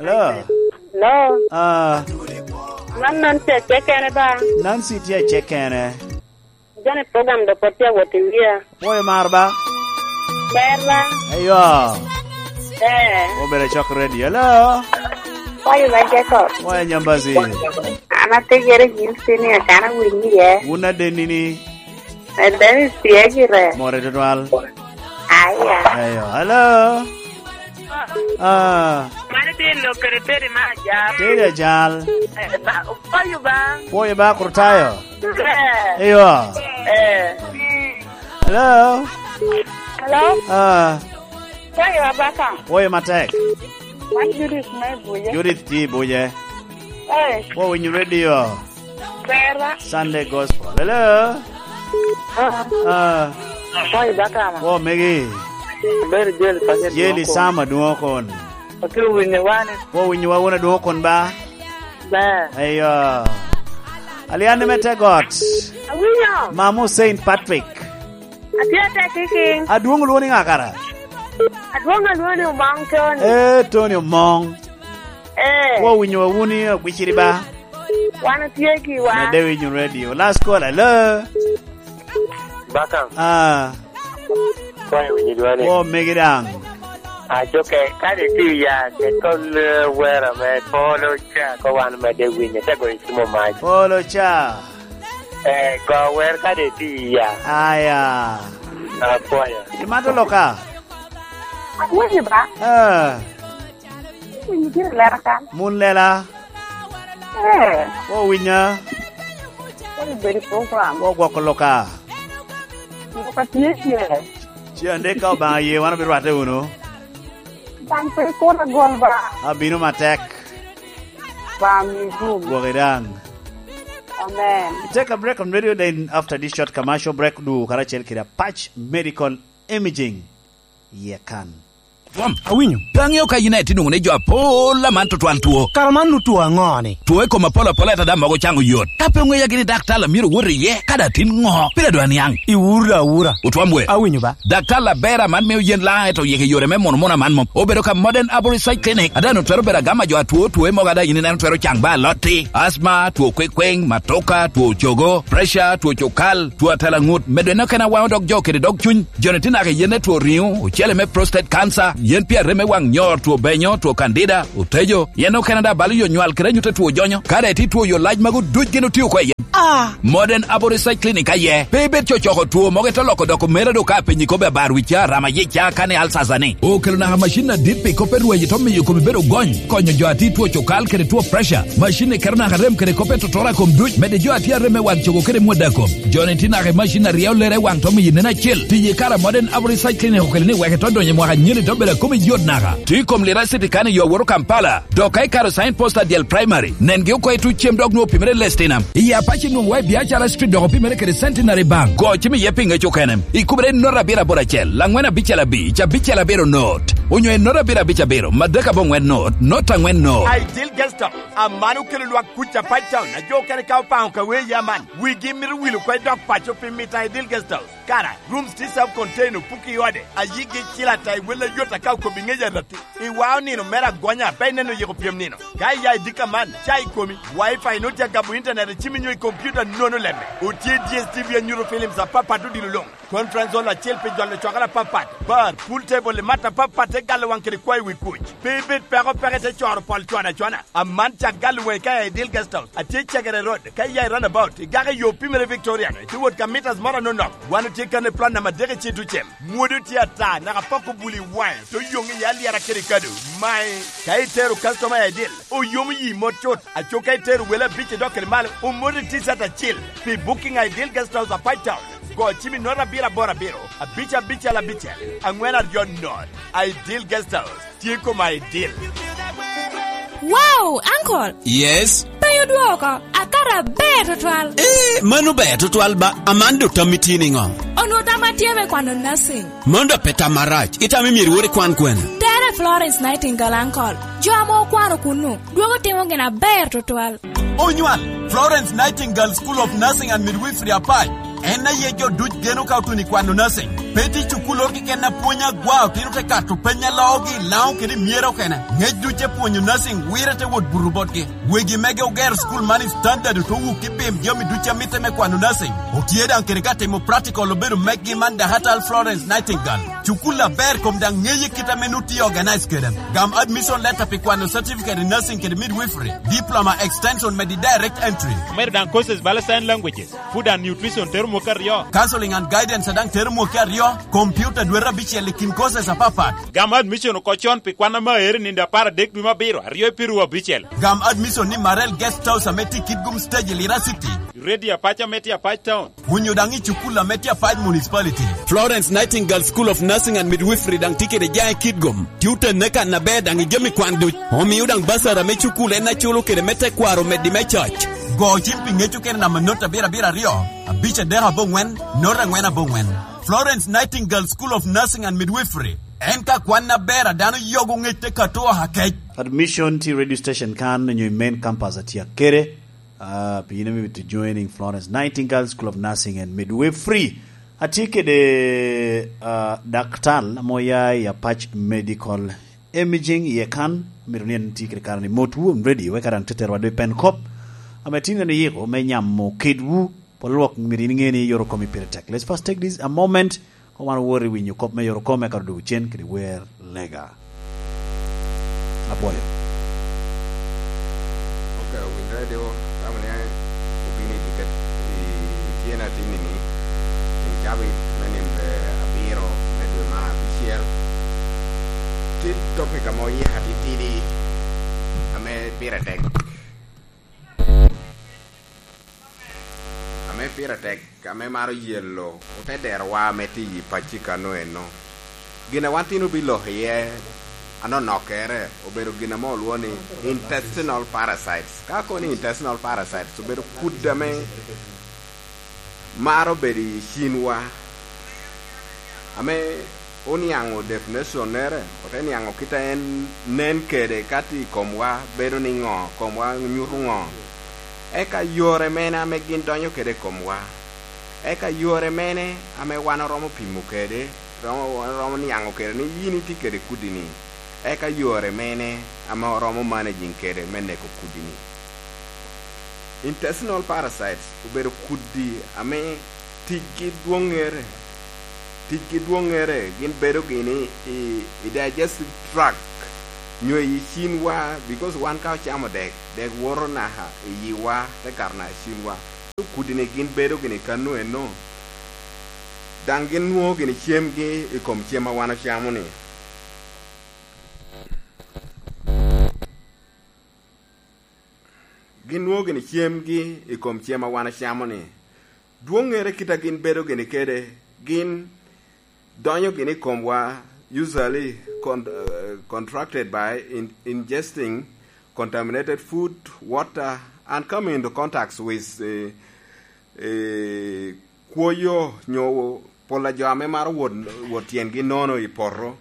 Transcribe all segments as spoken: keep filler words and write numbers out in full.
Ah. Hello. Ah. Man Nancy acek kene ba? Nancy tye acek kene. Joni program do pot tye awot i wia. Pwoyo mar ba? Ber ba? Eyo. Eh. Obedo cok radio. Hello. Pwoyo ba, Jacob. Pwoyo, Nyambazi. An ategere Houston, akana winyi iye. Wun adenni ni? Adenni tye gire. More tutwal. Aya. Eyo. Hello. Ah. Mano tye lok kede Teddy ma ajal. Teddy ajal. Eh, ba, pwoyo ba. Pwoyo ba, Kurtayo. Eh. Eyo. Eh. Hello. Hello. Ah. Pwoyo Abaka. Pwoyo matek. Wan Judith me Buje. Judith tye i Buje. Eh. Pwo winyo radio. Bera. Sunday Gospel. Hello. Ah. Ah. Pwoyo Abaka ma. Pwo megi. Ber Jel pa Jel Jeli Dwoko. Sama Dwoko kon. Ote winyo wane. Pwo winyo wa wun Adwoko kon ba? Ber. Eyo. Alian me te got. Awinyo. Mamu Saint Patrick. Atye tek kiking. Adwong olwoni ŋa kara? Adwong alwoni Omong Tony. Eh, Tony Omong. Eh. Pwo winyo wa wun i Agwiciri ba? Wan otye giwa. Medde winyo radio. Last call, hello. Bakam. Ah. Kwayo winyo dwani. Pwo megi daŋ. Ajoke, kadi ti ya, ke tol, eh, wera me polo ca, ko wan medde winyo, te goyo cimo mac. Polo ca. Eh, go wer kadi ti ya. Aya. Apwoyo. Imato loka? Awinyo ba? Eh. Winyo gire lera kan. Mun lela. Eh. Owinya. Kodi bedo i program. Ogwoko loka. Loka tye tye. Ci ande ka Obaŋa ye, wan obirwate wunu. Baŋ pe kur agol ba. Abino matek. Baŋ mi gum. Gwoki daŋ. Amen. Take a break on radio, then after this short commercial break, du karacel kede Apac Medical Imaging. Iye kan. Twom, awinyo. Pe aŋeo ka yin aye tye nwoŋo ni jo apol aman tutwal two. Kara man nu two aŋo ni? Two i kom apol apol ata daŋ mogo caŋo yot. Ka pe oŋeya gini daktar a myero wot iye, ka daŋ tin ŋo? Pire dwa niaŋ. Iwura awura. Otwom we. Awinyo ba. Daktar aber aman mio yen laŋ eto yeke yore me mono mono aman mom. Obedo ka Modern Arborist Clinic. Adan otwero bedo agama jo atwo two mogo ada yin ineno twero caŋ ba alotti. Asma, two kwekweng, matoka, two cogo, pressure, two cokal, two atalaŋut. Medo eno kena waŋo dog jo kede dog cuny. Joni tye naka i yen me two riŋo, ocele me prostate cancer, yen pi arem me waŋ nyor, two benyo, two candida, otejo, yen okene daŋ balo yo nywal kede anyut a two jonyo. Kare tye two yo lac magu duc gin otio oko i yen. Ah! Modern Arborist Clinic aye. Pe ibed cocoko two mogo ito loko doko mera do ka penyi kobe abar wica, rama yica, kane alsasa ni. Okelo naka macin adit pi kop e rweny ito miyo komi bedo gony, konyo jo ati two cokal kede two pressure. Macin ni keto naka rem kede kop e totora kom duc, mede jo ati arem me waŋ cogo kede mwada kom. Joni tye naka i macin a ryeo lere i waŋ to miyo nen acel. Tiye kara Modern Arborist Clinic okelo ni wek ito donyo i mwaka nyeni to bedo a komi yot naka. Tye i kom lira city kan i yo awoto Kampala. Dok ka ikaro sign post adyel primary, nengi oko i tuc cem dok nwoŋo opimere i Lestinam. I Apac inwoŋo wa i Biacara Street dok opimere kede Centenary Bank. Go cim iye pi ŋec okene. Ikubere i not abiro aboro acel, laŋwen abicel abic, abicel abiro not. Onyo i not abiro abic abiro, madek aboŋwen not, not aŋwen not. Ideal Guest House, aman okelo lwak kuc Apac Town, a jo okene ka opaŋo ka wee aman. Wigi mito wil oko i dok paco pi mito Ideal Guest House. Kara, rooms tye self contained, opuki i ode, ayigi cil ata i wel ayot aka okobi ŋec arati. Iwao nino mere agonya, pe ineno yiko pyem nino. Ka iya i dika man, ca i komi, Wi-Fi nut ya gamo internet i cimi nyo i computer nono lemme. Otye D S T V anyuto films apapat odilo luŋ. Conference hall acel pi jolo cokere apapat. Bar, pool table i mat apapat te galo waŋ kede kwayo wi kuc. Pe ibed peko peke te coro pol cwana cwana. Aman cak galo waŋi ka i Ideal Guest House. Atye Cegere Road, ka iya i roundabout, igako i yo pimere Victoria no, itye wot ka meters moro anonok. Wan otye kan i plan namba adek i Cito Cem. Mwodi tye ata, naka poko buli i waŋe, to yoŋ iye alyera kede kado. Mae, ka itero customer i Ideal, oyomo yi mot cut. Aco ka itero wele abic idok kede malo, omoti T-shirt acil. Pi booking i Ideal Guest House Apac Town, go cim i not abiro aboro abiro, abic abicel abicel, aŋwen aryo not. Ideal Guest House. Tye koma i dil. Wow, uncle! Yes? Pe odwoko, akato aber tutwal. Eh, mano ber tutwal ba. Aman dok tammi tye niŋo? Onwoŋo tamma tye me kwano nursing. Mano dok pe tam marac. Itamo myero iwot ikwan kwene? Tere Florence Nightingale, uncle. Jo ame okwano kunnu, dwogo timo gin aber tutwal. Onywal, Florence Nightingale School of Nursing and Midwifery Apac. En aye jo duc geno ka otuno i kwano nursing. Pe tye cukul oro keken a pwonyo agwa, otino te kato peny a loogi i Laŋo kede i Myero okene. Ŋec duc te pwonyo nursing wire te wot buto botgi. Wegi mege ogero cukul man i standard oto wuk i pim jami duc a mitte me kwano nursing. Otye daŋ kede ka timo practical obedo meggi man Dakatal Florence Nightingale. Cukul aber kom daŋ ŋeye kit ame nu tye organize kede. Gam admission letter pi kwano certificate in nursing kede midwifery, diploma extension medi direct entry. Omedo daŋ courses bala sign languages, food and nutrition tero mwaka aryo. Counseling and guidance a daŋ tero mwaka aryo, computer dwete abicel i kin courses apapat. Gam admission oko con pi kwan ame aero i nino apar adek dwe me abiro, aryo i piru abicel. Gam admission ni Marel Guest House ame tye i Kitgum Stage i Lira City. Ready Apac ame tye Apac Town. Onyo daŋ i cukul ame tye Apac Municipality. Florence Nightingale School of Nursing and Midwifery daŋ tye kede jaŋ i Kitgum. Tye otenne kan aber daŋ i jami kwan duc. Omio daŋ basara me cukul en aculo kede me tekwaro meddi me coc. Go cim pi ŋec okene namba not abiro abiro aryo, abic adek aboŋwen, not angwen aboŋwen. Florence Nightingale School of Nursing and Midwifery. En ka kwan aber a dano yogo ŋec te kato oha kec. Admission tye i radio station kan onyo i main campus a tye kede, ah, pi in ame to joining Florence Nightingale School of Nursing and Midwifery. Atye kede, ah, daktal ame oya i Apac Medical Imaging iye kan. Amito ni en tye kede kare ni motwu, I'm ready, wek daŋ teterwa dwe pen kop. Ame tin en oyiko me nyamo kedwu, pol lwak myero in iŋe ni yoro komi pire tek. Let's first take this a moment. Ka wan owoto i winyo kop me yoro kome, ka odwogo cen kede wer lega. Apwoyo. Ok, owinyo radio, tamo ni obino i tiket i tyen atinni ni, i cabit me nino abiro me dwe mar abicel. Tye topic ame oyiko atitidi ame pire tek. Ame pire tek, ame maro yelo ote derowa ame tye i pacci kano eno. Gin a wan tin obiloko iye anonokere obedo gin ame olwongo ni intestinal parasites. Ka kono ni intestinal parasites, obedo kudi ame maro bedo i cinwa, ame oniaŋo definition-nere, ote niaŋo kit a en nen kede ka tye i komwa, bedo niŋo, komwa nyuto ŋo, eka yore mene ame gin donyo kede i komwa, eka yore mene ame wan oromo pimo kede, romo, wan oromo niaŋo kede ni yin itye kede kudi-ni, eka yore mene ame oromo managing kede me neko kudi-ni. Intestinal parasites obedo kudi ame ticgi dwoŋŋere. Ticgi dwoŋŋere gin bedo gini i, i digestive tract, nyo i cinwa, because wan ka ocamo dek, dek woto naka i yiwa, te kato naka i cinwa. Kudi-ni gin bedo gini kano eno, daŋ gin nwoŋo gini cemgi i kom cem a wan ocamo-ni. Gin nwoŋo gini cemgi i kom cem a wan ocamo-ni. Dwoŋŋere kit a gin bedo gini kede, gin donyo gini i komwa, usually con-, eh, contracted by in-, ingesting contaminated food, water, and coming into contacts with, eh, eh, kwoyo nyo pol a jo ame maro wot, wot tyengi nono i poto.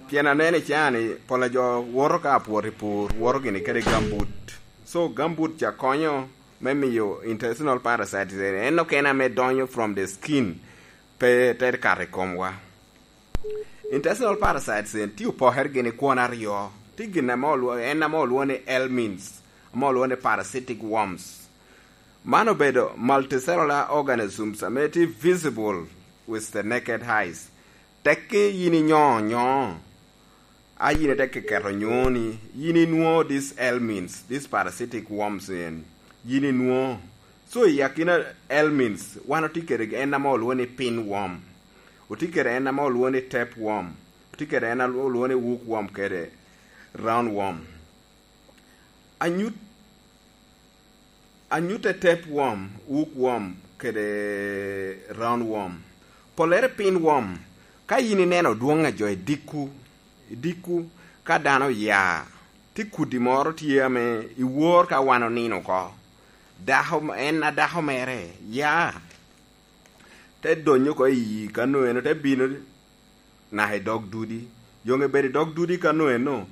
Pien aneno i caa-ni, pol a jo woto ka apwot i pur, woto gini kede gambut. So, gambut ca konyo me miyo intestinal parasites en, en okene ame donyo from the skin, pe te kato i komwa. Intestinal parasites en tye opokere gini kwon aryo. Tye gin ame olwo-, en ame olwongo ni helminths, ame olwongo ni parasitic worms. Man obedo multicellular organisms ame tye visible with the naked eyes. Tekki yin inyo nyo, a yin ite keketo nyoni, yin inwoŋo these helminths, these parasitic worms en, yin inwoŋo. So, i akina helminths, wan otye kede en ame olwongo ni pinworm, otye kede en ame olwongo ni tapeworm, otye kede en ame olwongo ni hookworm kede roundworm. Anyut, anyutte tapeworm, hookworm, kede roundworm. Pollere pinworm, ka yin ineno dwoŋ a jo i dikku, i dikku, ka dano oya, tye kudi moro tye ame i wor ka wan onino oko. Dako, en a dako mere, ya, te donyo oko i kano eno, te bino naka i dog dudi. Yoŋe bedo i dog dudi kano eno,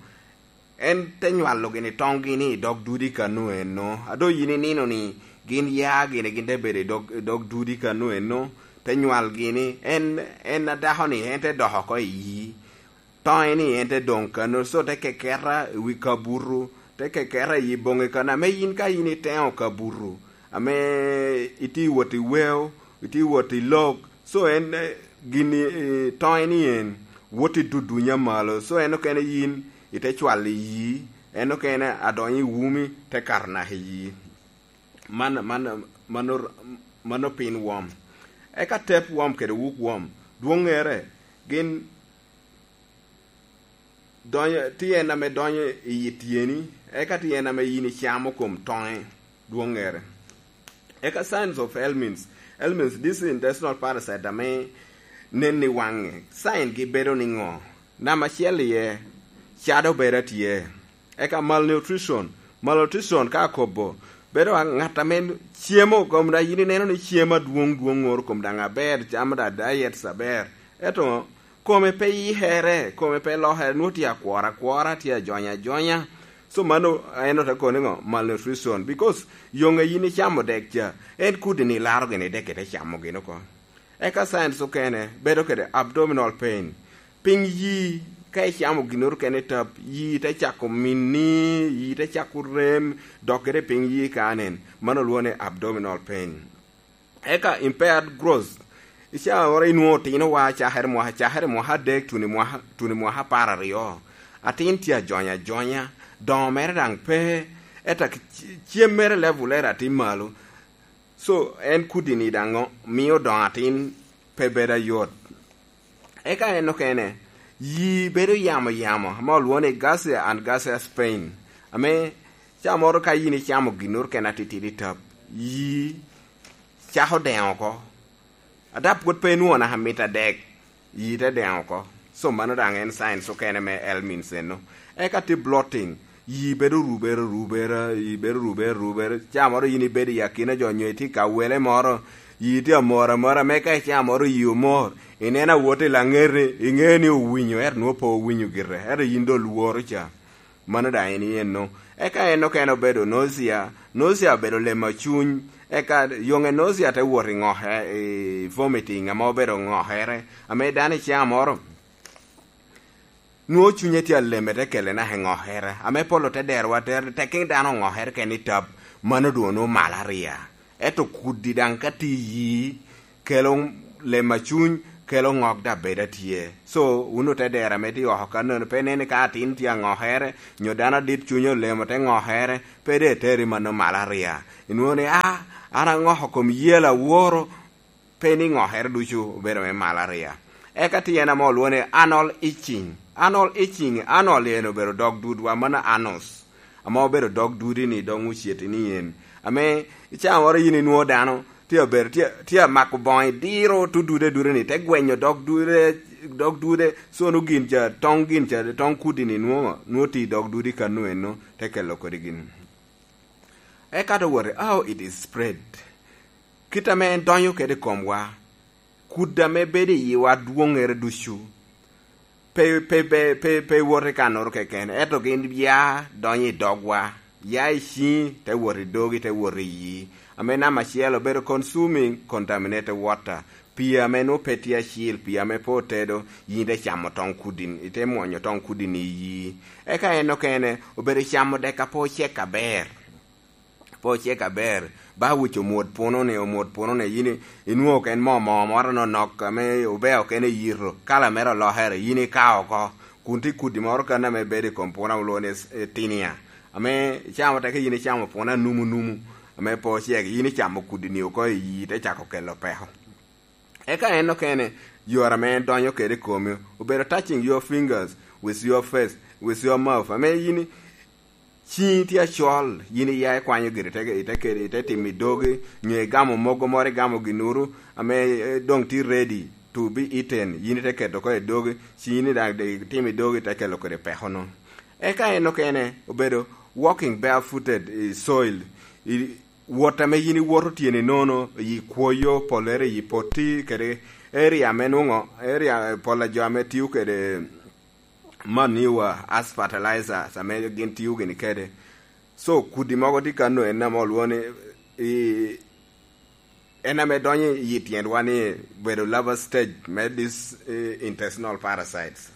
en te nywalo gini toŋgi ni i dog dudi kano eno. A doŋ yin inino ni gin ya gini gin te bedo i dog, i dog dudi kano eno, te nywalgi ni, en, en a dako-ni, en te dok oko i yi. Toŋe-ni en te doŋ kano, so te keketa i wi kabuto, te keketa i yi boŋi kano, ame yin ka yin iteŋo kabuto, ame itye wot i weo, itye wot i lok, so en, eh, gini, eh, toŋe-ni en wot i dudunya malo, so en okene yin ite cwalo i yi, en okene adonyo i wumi, te kato naka i yi. Man, man, mano, mano pin wom. Eka tep wom kede wuk wom, dwoŋŋere, gin donyo, tye en ame donyo i yi tyeni, eka tye en ame yin icamo kom toŋe, dwoŋŋere. Eka signs of helminths. Helminths, this intestinal parasite ame nen i waŋe. Sign gi bedo niŋo? Namba acel iye, cado bedo atye. Eka malnutrition. Malnutrition ka akobo, bedo a-, ŋat ame cemo, kom daŋ yin ineno ni cem adwoŋ dwoŋ ŋoro kom daŋ aber, camo daŋ diets aber. Ento kome pe yikere, kome pe lokere, nwoŋo tye akworo akwora, tye ajony ajonya. So mano en ote kono niŋo? Malnutrition. Because yoŋe yin icamo dek ca, en kudi-ni laro gini dek ite camo gin oko. Eka signs okene, bedo kede abdominal pain. Piny yi, ka icamo ginnoro kene i tap, yi te cako minni, yi te cako rem, dok kede piny yi ka nen, mano olwoŋo ni abdominal pain. Eka impaired growth. Icaa oro inwoŋo otino wa cakere mwaka, cakere mwaka adek, tuni mwaka, tuni mwaka apar aryo. Atin tye ajony ajonya, doŋo mere daŋ pe, eta c-, cem mere level era tye malo. So, en kudi-ni daŋ mio doŋo atin pe bedo ayot. Eka en okene, yi bedo yamo yamo, ame olwoŋo ni gaseous and gaseous pain, ame ca moro ka yin icamo ginnoro kene atitidi tap, yi cako deŋo oko. Adap pwod pe inwoŋo naka mit adek, yi te deŋo oko. So mano daŋ en signs okene me helminths eno. Eka tye bloating, yi bedo rubere rubere, yi bedo rubere rubere. Ca moro yin ibedo i akina jo nyo itye ka wele moro, yi tye amor amora, me ka ica moro yi omor, ineno awot i laŋete, iŋeo ni owinyo, ento nwoŋo pe owinyo gire, ento yin doŋ lworo ca. Mano daŋ en iyeno. Eka en okene obedo nausea, nausea obedo lemo cuny, eka yoŋe nausea te wot i ŋoke, i vomiting, ame obedo ŋokere, ame dano ica moro nwoŋo cunye tye aleme te kele naka i ŋokere, ame pol ote derowa ater, tekke dano oŋokere kene i tap, mano doŋ onwoŋo malaria. Ento kudi daŋ ka tye i yi, kelo lem a cuny, kelo ŋok daŋ bedo atye. So, wun ote dero ame tye oko kannono, pe inen ni ka atin tye aŋokere, nyo dano adit cunye olemo te ŋokere, pe de eteri mano malaria. Inwoŋo ni, "Ah, an aŋoko kom yel aworo," pe ni ŋokere ducu obedo me malaria. Eka tye en ame olwoŋo ni anal itching. Anal itching, anal en obedo dog dudwa, mano anus. Ame obedo dog dudi ni, dog oceti ni en. Ame i caa moro yin inwoŋo dano tye abedo, tye, tye amako boŋo, idiro tudude dude ni, te gwenyo dog dude, dog dude, so nwoŋo gin ca, toŋ gin ca, toŋ kudi ni nwoŋo, nwoŋo tye i dog dudi kano eno, te kelo kodi gin. Eka te wot, how it is spread. Kit ame en donyo kede i komwa, kudi ame bedo i yiwa dwoŋŋere ducu, pe, pe, pe, pe, pe wot i kannoro keken, ento gin ya donyo i dogwa, ya i ciŋi, te wot i dogi, te wot i yi. Ame namba acel obedo consuming contaminated water, pii ame nwoŋo pe tye acil, pii ame pe otedo, yin ite camo toŋ kudi-ni, ite mwonyo toŋ kudi-ni i yi. Eka en okene obedo camo dek a pe ocek aber. Pe ocek aber, ba wic omwod puno-ni, omwod puno-ni, yin i-, inwoŋo ken moo, moo moro nonok ame obeo kene i yito, kala mere olokere, yin ikao oko, kun tye kudi moro kan ame bedo i kom puno, olwoŋo ni s-, eh, tinia, ame icamo teke yin icamo puno anumu numu, ame pe ocek, yin icamo kudi-ni oko i yi, te cako kelo peko. Eka en okene, yore ame en donyo kede i komi, obedo touching your fingers with your face, with your mouth, ame yin i-, ciŋi tye acol, yin iya ikwanyo giri, ite, ite kede, ite timo i dogi, nyo igamo mogo moro, igamo ginuru, ame, eh, doŋ tye ready to be eaten, yin ite keto oko i dogi, ciŋi ni daŋ de itimo i dogi, ite kelo kede peko-nu. Eka en okene obedo walking barefooted i soil, i, wot ame yin iwoto tyeni nono, i kwoyo, pollere i potti, kede area ame nwoŋo, area, pol a jo ame tio kede manure as fertilizers ame gin tio gini kede. So, kudi mogo tye kano en ame olwoŋo ni, i, en ame donyo i tyenwa ni bedo larval stage me this eh, intestinal parasites.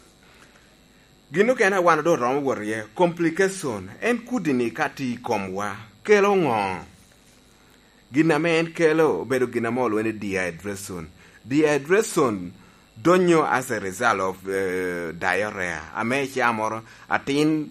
Gin okene a wan doŋ romo wot iye, complication, en kudi-ni ka tye i komwa kelo ŋo? Gin ame en kelo obedo gin ame olwoŋo ni dehydration. Dehydration donyo as a result of eh, diarrhea, ame icaa moro atin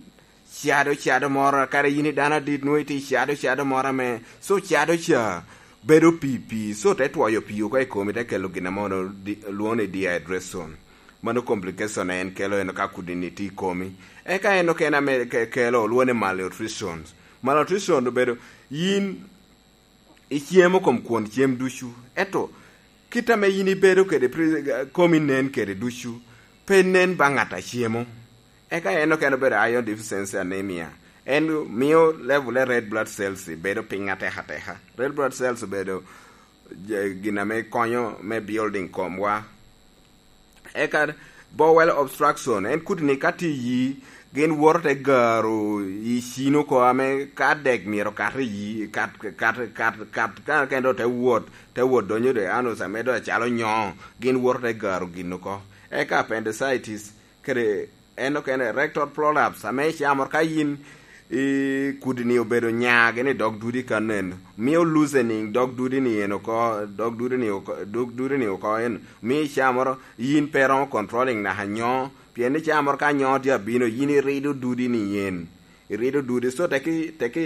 cado cado moro, kara yin i dano adit nwoŋo itye cado cado moro ame, so cado ca bedo pii pii, so te twoyo pii oko i komi, te kelo gin ame ono di- lwoŋo ni dehydration. Mano complication en kelo en ka kudi-ni tye i komi. Eka en okene ame ke- kelo olwoŋo ni malnutrition. Malnutrition obedo yin icemo kom kwon cem ducu, ento kit ame yin ibedo kede pri- komi nen kede ducu, pe nen ba ŋat a cemo. Eka en okene obedo iron deficiency anemia. En mio level e red blood cells bedo piny atek ateka. Red blood cells obedo je- gin ame konyo me building komwa. Eka bowel obstruction, en kudi-ni ka tye iyi, gin woto te garo i cin oko ame ka dek myero kat iyi, kat, kat, kat, kat, ka kendo te wot, te wot donyo de anus ame doŋ acalo nyo, gin woto te garo gin oko. Eka appendicitis, kede en okene rectal prolapse, ame icamo ka yin i kudi-ni obedo nyagi ni dog dudi ka nen, mio loosening dog dudi-ni en oko, dog dudi-ni oko, dog dudi-ni oko en, mio icamoro yin pe romo controlling naka nyo, pien ni camoro ka nyo tye abino, yin irido dudi-ni en, irido dudi, so teki, teki,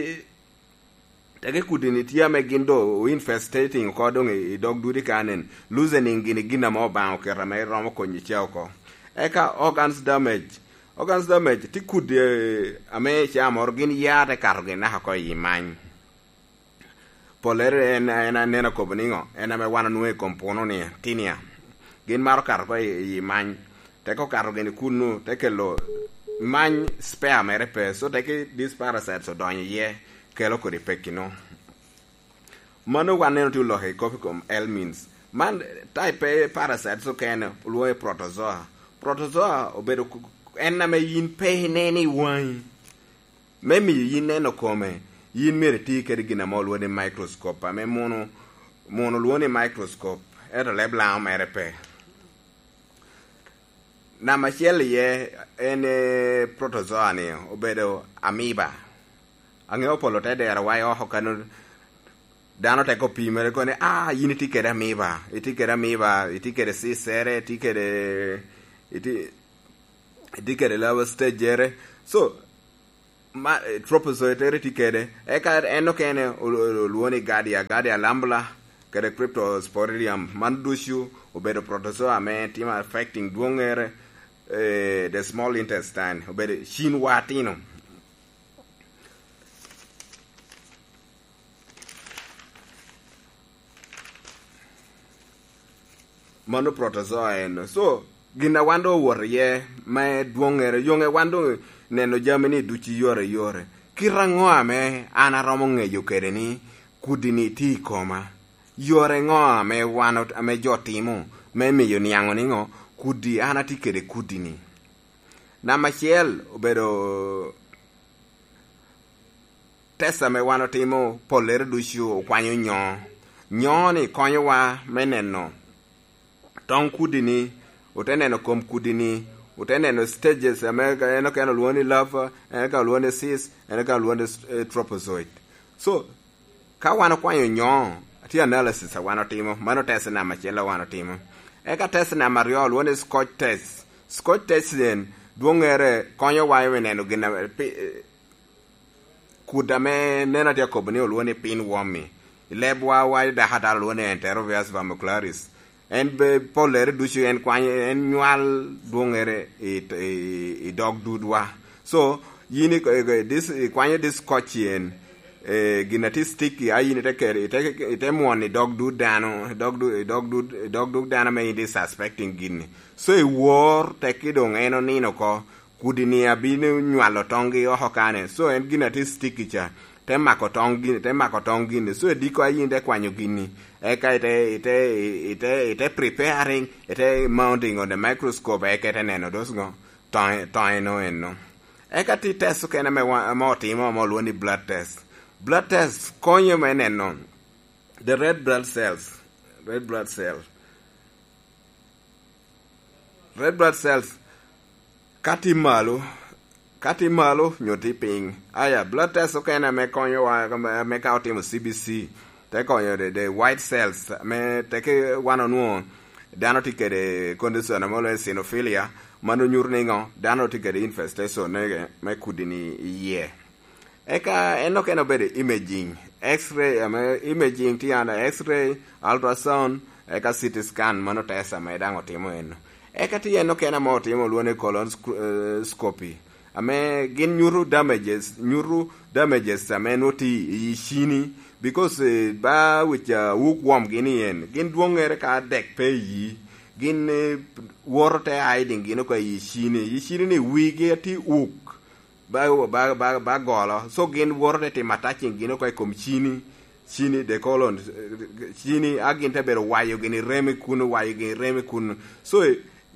teki kudi-ni tye ame gin do infestating oko doŋ i, i dog dudi ka nen, loosening gini gin ame Obaŋa oketo ame romo konyo ca oko. Eka organs damage, organs damage tye kudi eh, ame icamoro gin ya te kato gin naka oko i many. Pollere en, en aneno kobo niŋo? En ame wan onwoŋo i kom puno ni, tinea. Gin maro kato oko i, i many. Teko kato gini kunnu, te kelo many spare mere pe. So teki these parasites odonyo iye, kelo kodi pekki no. Mano wan neno tye oloko i kop i kom helminths. Man type pe parasites okene olwoŋo i protozoa. Protozoa obedo ku- en ame yin pe ineno i waŋi. Me miyo yin neno kome, yin myero iti kede gin ame olwoŋo ni microscope, ame muno, muno olwoŋo ni microscope, ento leb Laŋo mere pe. Namba acel iye en eh, protozoa-ni obedo amoeba. Aŋeo polo te dero wa i oko kano dano te ko pimere koni, ah, yin itye kede amoeba, itye kede amoeba, itye kede cisere, itye kede, itye, itye kede larval stage-ere. So, ma, eh, tropozoitere tye kede. Eka en okene ol- ol- olwoŋo ni Giardia, Giardia lambula, kede Cryptosporidium. Man ducu obedo protozoa ame timo affecting dwoŋŋere, eh, the small intestine, obedo cinwa atino. Mano protozoa en. So, gin a wan doŋ owoto iye me dwoŋŋere, yoŋe wan doŋ neno jami ni ducu i yore i yore. Kit aŋo ame an aromo ŋeyo kede ni kudi-ni tye i koma? Yore ŋo ame wan ot- ame jo timo me miyo niaŋo niŋo kudi an atye kede kudi-ni? Namba acel obedo test ame wan otimo pollere ducu okwanyo nyo. Nyo-ni konyowa me neno toŋ kudi-ni, ote neno kom kudi-ni, ote neno stages ame en okene olwoŋo ni larva, en okene olwoŋo ni cyst, en okene olwoŋo ni eh, tropozoid. So, ka wan okwanyo nyo, tye analysis a wan otimo, mano test namba acel a wan otimo. Eka test namba aryo olwoŋo ni Scotch test. Scotch test en dwoŋŋere konyowa me neno gin ame pi- kud ame neno atye akobo ni olwoŋo ni pinworm-mi. I lebwa wa i dako atara olwoŋo ni Enterobius vermicularis. En be pollere ducu en kwanyo en nywal dwoŋŋere i, i, i dog dudwa. So, yin i- i- this- ikwanyo this scotch en, eh, gin atye sticky, a yin ite kere, ite, ite mwon i dog dud dano, i dog du- i dog dud- i dog dud dano ame yin itye suspecting gini. So, iwor tekki doŋ en onino oko, kudi-ni abino nywalo toŋgi oko kane. So, en gin atye sticky ca, te mako toŋ gini, te mako toŋ gini. So, ediko a yin te kwanyo gini, eka ite, ite, ite, ite preparing, ite mounting on the microscope, eka ite neno dos ŋo, toŋe, toŋe no eno. Eka ti test okene ame wa- ame otimo, ame olwoŋo ni blood test. Blood test konyo me neno the red blood cells. Red blood cell. Red blood cells ka tye malo, ka tye malo nyo tye piny. Aya, blood test okene ame konyowa, ame ka otimo C B C, te konyo the, the white cells, ame teke wan onwoŋo dano tye kede condition ame olwoŋo eosinophilia, mano nyuto niŋo? Dano tye kede infestation me, me kudi-ni i yie. Eka en okene obedo imaging, x-ray, ame imaging tye under x-ray, ultrasound, eka C T scan, mano test ame daŋ otimo eno. Eka tye en okene ame otimo olwoŋo ni colonoscopy, ame gin nyuto damages, nyuto damages ame nwoŋo tye i cini, because, eh, ba wic, ah, wuk wom gin i en, gin dwoŋŋere ka dek pe i yi, gin, eh, woto te hiding gin oko i cini, i cini ni wigi atye wuk, ba, ba, ba, ba golo. So gin woto te timo attaching gin oko i kom cini, cini, the colon, cini, a gin te bedo wayo gini rem i kuno, wayo gini rem i kuno. So,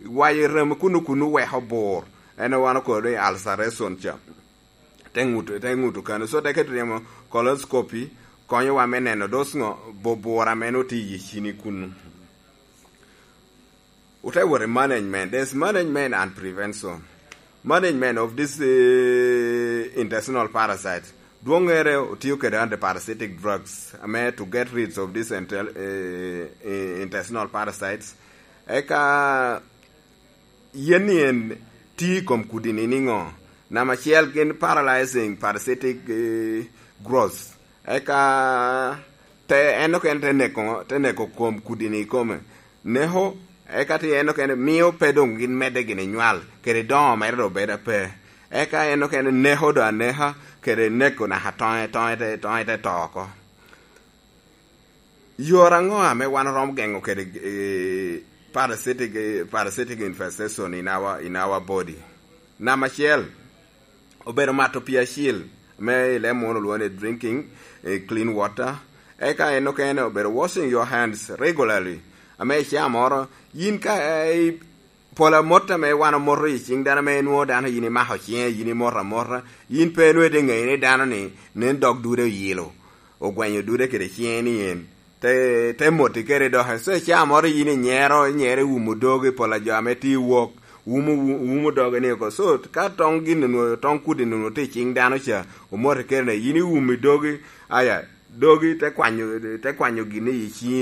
wayo rem i kuno, kuno weko bur. En wan okobo ni ulceration ca. Te ŋuto, te ŋuto kano. So, te keto timo colonoscopy, konyowa me neno dos ŋo, bu-, bur ame nwoŋo tye i cini kuno. Ote wot i management. There's management and prevention. Management of this, eh, intestinal parasite. Dwoŋŋere otio kede antiparasitic drugs, ame to get rid of this intel-, eh, eh, intestinal parasites. Eka yen ni en tye i kom kudi-ni niŋo? Namba acel gin paralyzing parasitic, eh, growth. Eka te, en okene te neko, te neko kom kudi-ni i kome. Neko, eka tye en okene mio pe doŋ gin medde gini nywal, kede doŋo mere doŋ bedo ape. Eka en okene neko doŋ aneka, kede neko naka toŋe, toŋe te, toŋe te to oko. Yore aŋo ame wan oromo geŋo kede, eh, parasitic, eh, parasitic infestation in our, in our body? Namba acel, obedo mato pii acil, me i leb munu olwoŋo ni drinking, eh, clean water. Eka en okene obedo washing your hands regularly. Ame i caa moro, yin ka, eh, pol amot ame wan omoto i ciŋ dano, ame nwoŋo dano yin imako ciŋe, yin imoto amota, yin pe nwoŋo ite ŋeyo ni dano-ni nen dog dude oyilo, ogwenyo dude kede ciŋe ni en. Te, te moti kede doke. So, i caa moro yin inyero, inyero iwumo dogi, pol a jo ame tye i wok, wumo, wu-, wumo dogi ni oko. So, ka toŋ gin onwoŋo, toŋ kudi onwoŋo tye i ciŋ dano ca, omoti kede ni, yin iwumi dogi, aya, dogi te kwanyo, te kwanyo gin i ciŋi.